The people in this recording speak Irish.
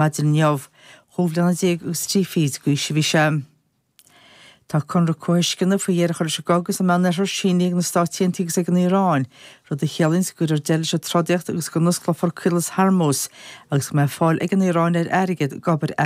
Maidin inniu, 12 bhliana agus trí fichid d'aois a bhí sé. Tá conradh comhthuisceana faoi dheireadh a chur leis an gcogadh sa Meánoirthear sínithe ag na Stáit Aontaithe agus ag an Iaráin, rud a chiallaíonns go gcuirfear deireadh leis an trodaíocht agus go n-osclófar Caolas Hormuz agus go mbeidh fáil ag an Iaráin ar airgead d'obair.